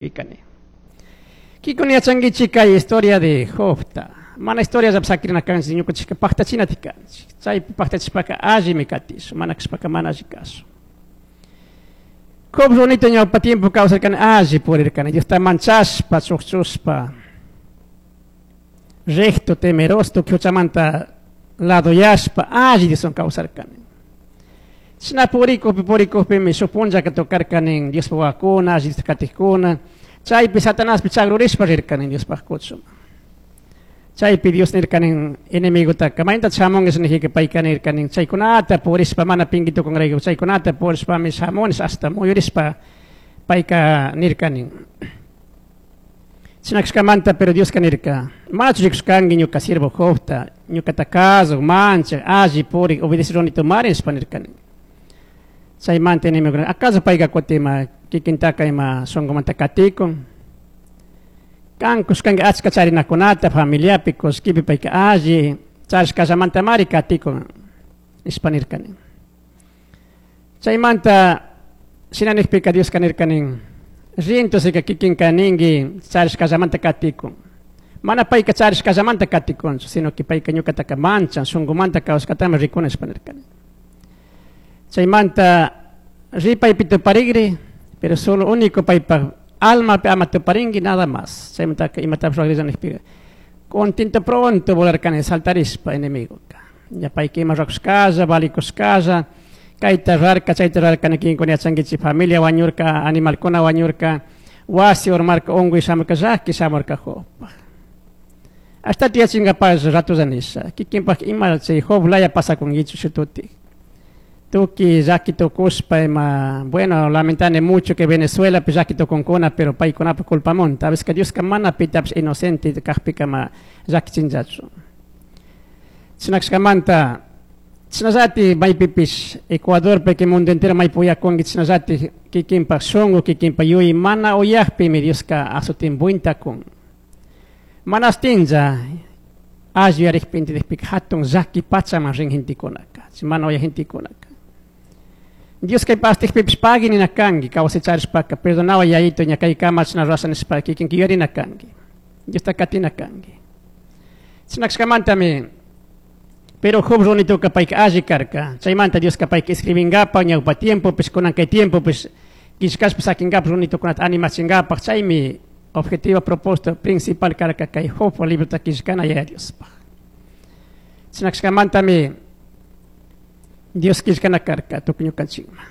Ikani. Kikun yachankichik kay historia de Jobta. Mana historia sakrina kanchik, ñukanchikka paktachinati kanchik. Chaypi paktachishpaka allimi katish, mana kashpaka mana alli kashun. Job runito ñawpa tiempo kawsarkani alli purirkani, Diosta manchashpa, chukchushpa, recto, temeroso, tukuy huchamanta ladoyashpa, alli Dioswan kawsarkani. Chashna purikukpi purikukpimi shuk punllaka tocarkani Diospaj wawakuna, alli Diosta katikuna, chaypi Satanaspi chagrurishpa rirkani Diospaj kuchuman. Chaypi Dios nirkani enemigotaka, mayta shamunkish nijika payka nirkani chaykunata purishpa mana pinki tukunrayku, chaykunata purishpami shamunis hasta muyurishpa payka nirkani. Chashna kashkamanta, pero Dioska nirka, manachu rikushkanki ñuka siervo Jobta, ñukata kasuk, manchak, alli purik, obedecek runitumari nishpa nirkani. Chaymanta enemigo, acaso payka kutin ima kikintaka ima shunkumanta katikun? Kan kushkanki achka charinakunata familiapi, kullkipi payka alli charishkallamantamari katikun nishpa nirkani. Chaymanta shina nijpika Dioska nirkani, rintusika kikinka ninki charishkallamanta katikun. Mana payka charishkallamanta katikunchu, sino que payka ñukataka manchan, shunkumanta kawsashkatami rikuni nishpa nirkani. Chaymanta ripaypi tuparigri, pero solo único paypaj almapi ama tuparinki nada más. Chaymantaka imatapish rugrilla nijpika, contento pronto volarkani saltarishpa enemigoka. Ña payka ima ruakushkalla, valikushkalla, kayta rurarka, chayta rurarka kinkuna yachankichik, familia wañurka, animalkuna wañurka, wasi urmarka, unkuy shamurka, llaki shamurka Jobpaj. Hasta yachinkapak ratolla nisha, kikinpak ima chay Job laya pasakunkichu shututik. Tuki llaki tukushpa ima, bueno, lamentane mucho que Venezuela pi llaki tukunkuna, pero paykunapa culpamunta. A veces que Dioska mana pitapish inocente kajpika ma llakichinllachu. Chinakshkamanta, chinallati maypipish Ecuadorpi que mundo entero maypi uyakunki, chinallati kikinpak shunku, kikinpak yuyay mana uyakpimi Dioska azotin kun. Mana astinlla alli yuyarikpi entendikpika hatun llaki pachaman rin gentekunaka, mana uyak gentekunaka. Dios kay pastikpipish pagui nina kanki, kawsay charishpaka, perdonawa yayito ña kay kama chashna rurasha nishpa kikinki yuyarina kanki. Diosta katina kanki. Chinakshkamantami, pero Job runituka payka alli karka. Chaymanta Dioska payka escribingapak ñawpa tiempopish, kunan kay tiempopish, killkashpa sakingapak runitukunata animachingapak, chaymi objetivo propósito principal karka kay Job librota killkana Yaya Diospaj. Chinakshkamantami Dios killkana karka tukuy ñukanchikman.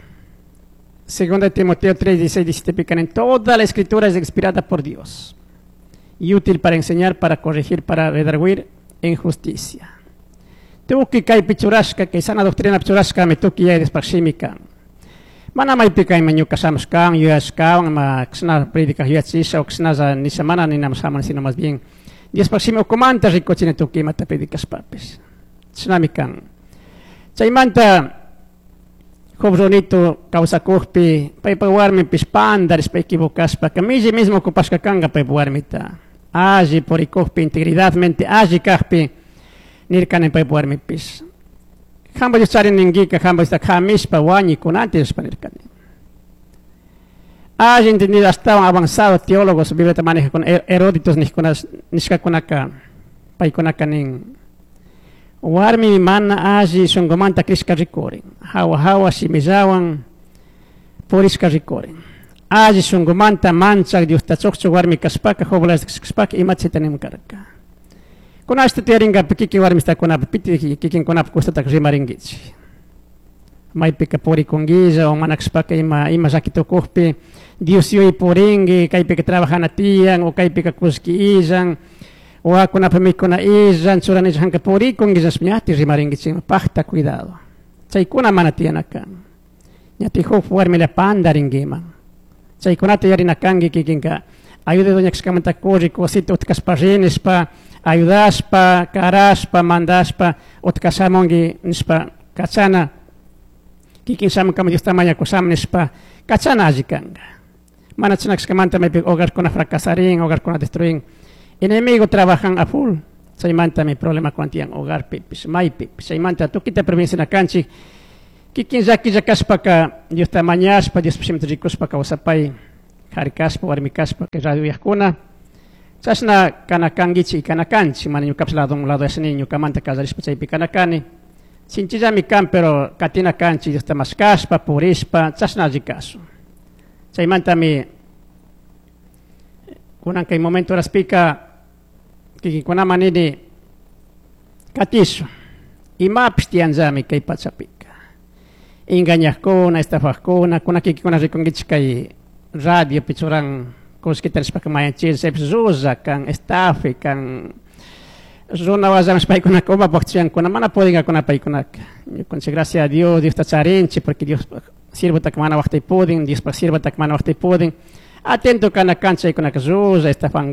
Segunda de Timoteo 3, 16, 17 pican en toda la escritura es inspirada por Dios y útil para enseñar, para corregir, para redarguir en justicia. Tukuy kaypi churashka, kay sana doctrina churashkami tukuy Yaya Diospaj shimi kan. Mana maypika ima ñuka shamushkan, yuyashkawan, ima kashna predicaj yuyachisha o kashnalla nisha mana ninami shamuni, sino más bien Diospaj shimi ukumanta rikuchini tukuy imata predicashpapish. Chashnami kan. Chaymanta Job runito kawsakukpi paypa warmipish pandarishpa equivocashpa milli mismo ocupashka kanka paypa warmita. Alli purikukpi integridadmente alli kakpi nirkani paypa warmipish. Hampa Dios chari ninkika, hampa Diosta kamishpa wañikunanti nishpa nirkani. Alli entendido astawan avanzado teólogos Bibliata maneja con eruditos nishkakunaka paykunaka nin warmi mana alli shunkumanta crishka rikurin, hawa hawa shimillawan purishka rikurin. Alli shunkumanta manchak Diosta chukchuk warmi kashpaka, Job kashpaka imachita nim karka. Kunashta tiyarinkapi kikin warmistakunapi piti kikinkunapi kustataka rimarinkichik. Maypika purikunkilla o mana kashpaka ima ima llaki tukukpi Dios yuyay purinki, kaypika trabajana tiyan o kaypika kullki illan, wawakunapa mikuna illan, churanilla hanka purikunkilla ñati rimarinkichikman, pakta cuidado. Chaykuna mana tiyana kan. Ñati huk warmila pandarinkiman. Chaykunata yarina kanki kikinka. Ayuda doña kashkamanta kurri, cosita utkashpa rinishpa, ayudashpa, karashpa, mandashpa, utkashamunki nishpa kachana. Kikin shamunkama Diosta mañakusham nishpa, kachana alli kanka. Mana chashna kashkamanta maypi hogarkuna fracasarin, hogarkuna destruin. Enemigo trabajan a full. Chaymantami problema tiyan hogarpipish, maypipish. Chaymanta tukuyta prevencina kanchik. Kikin llakilla kashpaka Diosta mañashpa, Diospaj shimita rikushpa kawsapay. Kari kashpa, warmi kashpa, kay radio uyajkuna. Chashna kana kanguichik y kana kanchik, mana ñukapish lado lado yashani ñukamanta kallarishpa chaypi kana kani. Sinchillami kan, pero katina kanchik Diosta mashkashpa, purishpa, chashna alli kashun. Chaymantami kunan kay momento horaspika kikinkunaman nini katishun. Imapish tiyanllami kay pachapika. Engañajkuna, estafajkuna, kuna kikinkuna rikunkichik kay radiopi churan kullkita nishpaka mayanchik, chaypish llulla kan, estafe kan, runa wallaman paykunaka umapaj chuyankuna, mana pudingakuna paykunaka. Ñukanchik gracias a Dios, Diosta charinchik, porque Dios siervotaka mana waqtay pudin, Diospaj siervotaka mana waqtay pudin. Atento kana kan chaykunaka llulla, estafan.